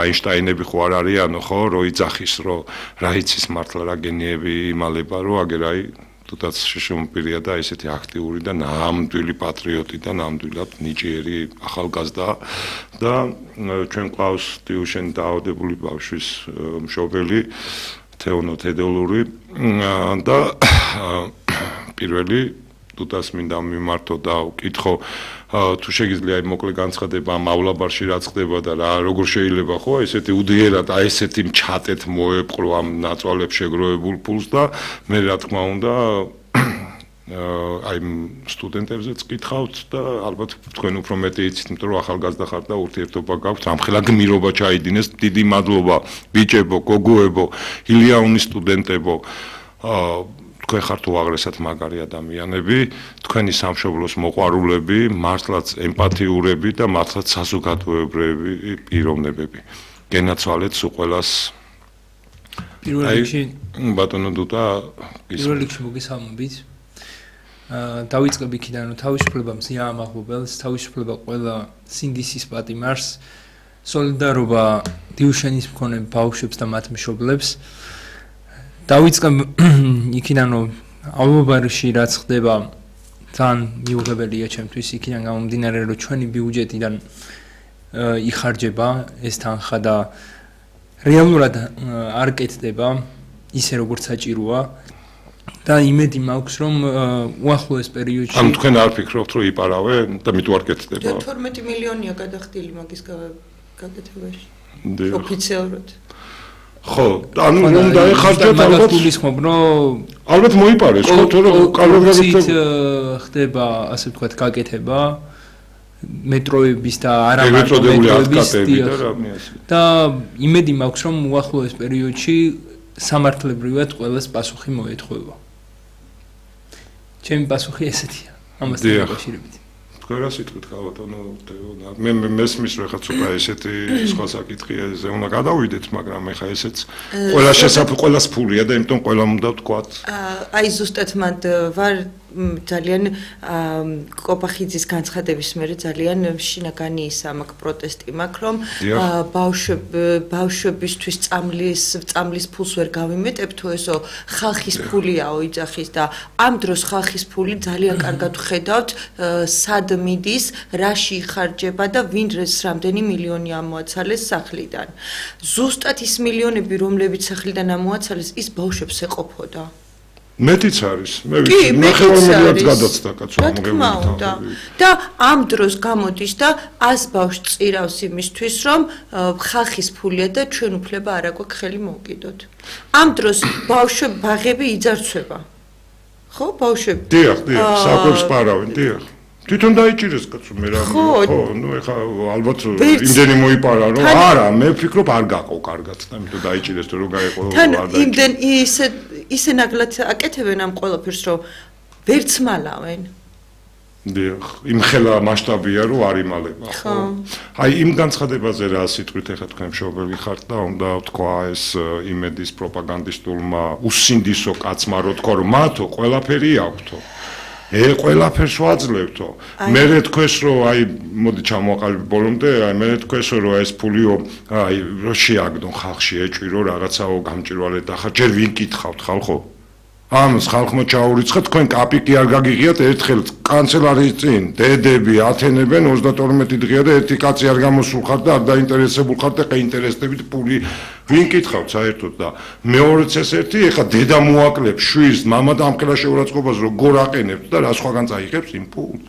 აინშტაინები ხო არ არიანო ხო რო იძახის რომ რა იცის მართლა რა გენიები იმალება რომ აგერ აი თუნდაც შეშმოპირია და ესეთი აქტიური და ნამდვილი პატრიოტი და ნამდვილად ნიჭიერი ახალგაზრდა და ჩვენ ყავს ტიუშენი დაავადებული ბავშვის მშობელი თეონო თედელური და პირველი თუნდაც მინდა მიმართო და ვკითხო თუ შეგიძლია მოკლე განცხადება ამ ავლაბარში რაც ხდება და რა როგორ შეიძლება ხო ესეთი უდიერად აი ესეთი მჩატეთ მოეპყრო ამ ნაწვალებს შეგროვებულ ფულს და მე რა თქმა უნდა აი სტუდენტებზეც კითხავთ და ალბათ თქვენ უფრო მეტი იცით იმიტომ რომ ახალგაზრდა ხართ და ურთიერთობა გაქვთ ამხელა გმირობა ჩაიდინეს დიდი მადლობა ბიჭებო გოგოებო ილიანის სტუდენტებო თქვენ ხართ უაღრესად მაგარი ადამიანები, თქვენი სამშობლოს მოყვარულები, მართლაც ემპათიურები და მართლაც საზოგადოებრივი პიროვნებები. გენაცვალეთ სულ ყველას. პირველ რიგში ბატონო დუტა პირველ რიგში მოგესალმებით. დავიწყებ იქიდან რომ თავისუფლება მზია ამაღლობელს, თავისუფლება ყველა სინდისის პატიმარს, სოლიდარობა დიუშენის მქონე ბავშვებს და მათ მშობლებს. დავიწყებ იქიდან რომ ავლაბარში რაც ხდება ძალიან მიუღებელია ჩემთვის იქიდან გამომდინარე რომ ჩვენი ბიუჯეტიდან იხარჯება ეს თანხა და რეალურად არ კეთდება ისე როგორც საჭიროა და იმედი მაქვს რომ უახლოეს პერიოდში ანუ თქვენ არ ფიქრობთ რომ იპარავენ და მით არ კეთდება 12 მილიონია გადახდილი მაგის გაკეთებაში ოფიციალურად ხო, ანუ რომ დაეხარჯოთ ალბათ გულისხმობ რომ ალბათ მოიპარეს ხო თორე კალორიებით ხდება ასე ვთქვათ გაკეთება მეტროების და არა მარტო მეტროების და იმედი მაქვს რომ უახლოეს პერიოდში სამართლებრივად ყველას პასუხი მოეთხოვება. ჩემი პასუხი ესეთია ამასთან დაკავშირებით. რა სიტყვით გავატონო მე მესმის რომ ხაც უკვე ესეთი სხვა საკითხია ზე უნდა გადავიდეთ მაგრამ ეხა ესეც ყველა ყველას ფულია და იმიტომ ყველამ უნდა ვთქვათ აი ზუსტად მანდ ვარ ძალიან კოპახიძის განცხადების მერე ძალიან შინაგანი ის ამაკ პროტესტი მაქვს რომ ბავშვებისთვის წამლის ფულს ვერ გავიმეტებ თუ ესო ხალხის ფულიაო იძახის და ამ დროს ხალხის ფული ძალიან კარგად ვხედავთ სად მიდის რაში იხარჯება და ვინ რამდენი მილიონი ამოაცალეს სახლიდან ზუსტად ის მილიონები რომლებიც სახლიდან ამოაცალეს ის ბავშვებს ეყოფოდა მეტიც არის მე ვიცი ნახევარ მილიონს გადაცდა კაცო მოგებული და ამ დროს გამოდის და 100 ბავშვს წირავს იმისთვის რომ ხალხის ფულია და ჩვენ უფლება არ აქვს ხელი მოვკიდოთ ამ დროს ბავშვები ბაღები იძარცვება ხო ბავშვები დიახ საკვებს პარავენ დიახ თვითონ დაიჭირეს კაცო მე რა ხო ნუ ეხა ალბათ იმდენი მოიპარა რომ არა მე ვფიქრობ არ გაყო კარგად და იმიტომ დაიჭირეს თუ რო გაიყო თან იმდენ ისე ნაგლად აკეთებენ ამ ყველაფერს რომ ვერც მალავენ დიახ იმხელა მასშტაბია რომ არ იმალება ხო აი იმ განცხადებაზე რა სიტყვით ეხა თქვენ მშობელი ხართ და უნდა თქვა ეს იმედის პროპაგანდისტულმა უსინდისო კაცმა რო თქვა რომ მათო ყველაფერი აქვთო ყველაფერს ვაძლევთო. მე თქვენს რომ აი მოდი ჩამოაყალიბ ბოლომდე, აი მე თქვენს რომ ეს ფულიო აი რო შეაგდონ ხალხში ეჭვირო რაღაცაო გამჭირვალეთ და ხა ჯერ ვინ კითხავთ ხალხო? ამას ხალხმა ჩაურიცხეთ თქვენ კაპიკი არ გაგიღიათ ერთხელ კანცელარიის წინ დედები ათენებენ 32 დღეა და ერთი კაცი არ გამოსულ ხარ და არ დაინტერესებულ ხარ და ყინტერესდებით ფული ვინ კითხავთ საერთოდ და მეორეც ეს ერთი ეხა დედა მოაკლებს შვილს მამა და ამხელა შეურაცხყოფას როგორ აყენებთ და რა სხვაგან წაიღებს იმ ფულს